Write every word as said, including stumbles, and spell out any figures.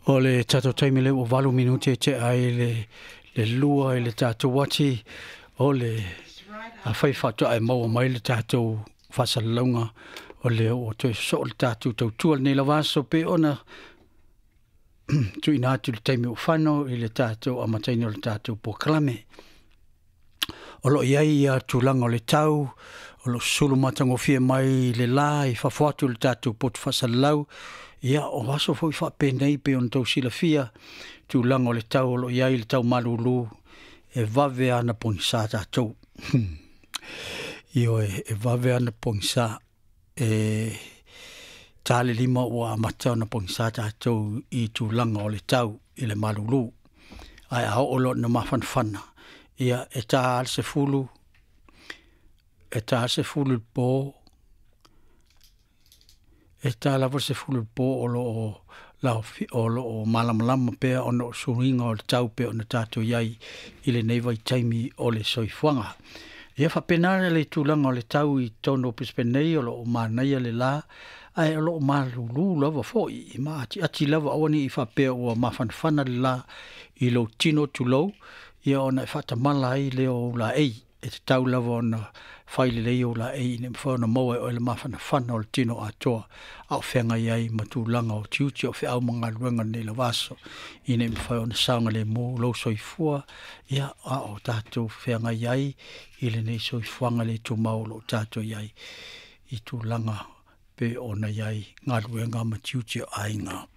O le tatou taimi lea ua valu minute tea ai le le lua i le tatou ati o le afai faatoa e maua mai le tatou faasalalauga o lea ua toe sosoo le tatou tautua lenei lava aso pei ona tuuina atu le taimi ua fano i le tatou amataina o le tatou polokalame. O lo o i ai ia tulaga o le tau, o lo o sulu matagofie mai le la i fafo atu o le tatou poto faasalalau. Ia, o aso foi faapenei pei ona tou silafia, tulaga o le tau o lo o i ai le tau malulu, e vave lava ona pogisa tatou. Ioe, e vave lava ona pogisa. E ta le lima ua amata ona pogisa tatou i tulaga o le tau i le malulu. Ae a oo loa ina mafanafana, ia e ta lava le sefulu, e ta le sefulu i le po, e ta lava le sefulu i le po o lo o laofi, o lo o malamalama pea ona o suiga o le tau pei ona tatou i ai i lenei vaitaimi o le soifuaga. Ia faapena le tulaga o le tau i totonu o Brisbane nei, o lo o manaia le la, ae o lo o malulu lava foi, e maatiati lava, aua ne i faapea ua mafanafana le la i lou tino tulou, ia ona e faatamala ai lea o ou laei. E tatau lava ona fai lelei ou laei ina ia mafai ona maua e oe le mafanafana o le tino atoa a o feagai ai ma tulaga o tiute o feau ma galuega i lenei lava aso, ina ia mafai ona saogalemu lou soifua, ia, a o tatou feagai ai i lenei soifuaga le tumau o lo o tatou i ai i tulaga pei ona i ai galuega ma tiute o aiga.